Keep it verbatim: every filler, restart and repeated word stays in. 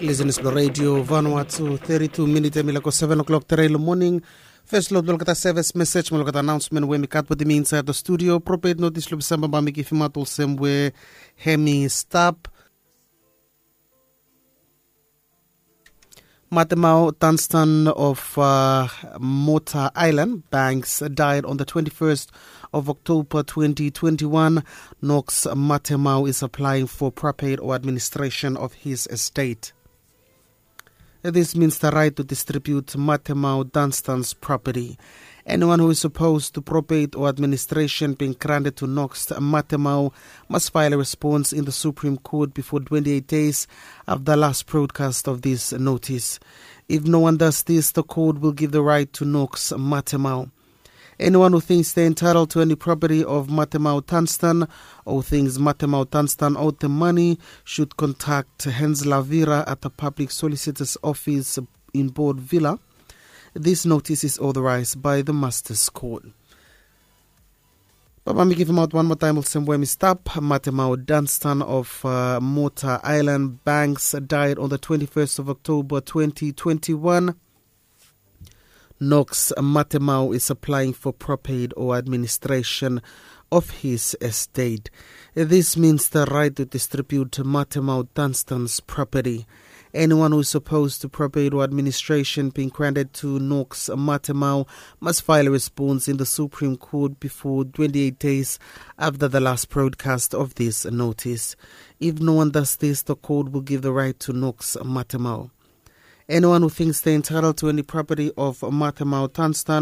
Lisenas blong redio Vanuatu, thirty-two minit em i laik go seven o'clock tere long moning. Fes long olgeta sevis mesej mo olgeta anaonsmen we mi gat wetem mi insaed long studio. Propet notis long Disemba bae mi givimaot olsem we hem i stap. Matemau Dunstan of uh, Mota Island Banks died on the twenty-first of October twenty twenty-one. Knox Matemau is applying for proper aid or administration of his estate. This means the right to distribute Matemau Dunstan's property. Anyone who is opposed to probate or administration being granted to Knox Matemau must file a response in the Supreme Court before twenty-eight days after the last broadcast of this notice. If no one does this, the court will give the right to Knox Matemau. Anyone who thinks they're entitled to any property of Matemau Dunstan or thinks Matemau Dunstan owed the money should contact Hans Lavira at the Public Solicitor's Office in Board Villa. This notice is authorized by the Master's Court. Baba mi givimaot wan moa taem olsem we mi stap. Matemau Dunstan of uh, Mota Island Banks died on the twenty-first of October twenty twenty-one. Knox Matemau is applying for proper aid or administration of his estate. This means the right to distribute Matemau Dunstan's property. Anyone who is opposed to proper aid or administration being granted to Knox Matemau must file a response in the Supreme Court before twenty-eight days after the last broadcast of this notice. If no one does this, the court will give the right to Knox Matemau. Anyone who thinks they're entitled to any property of Matemau Dunstan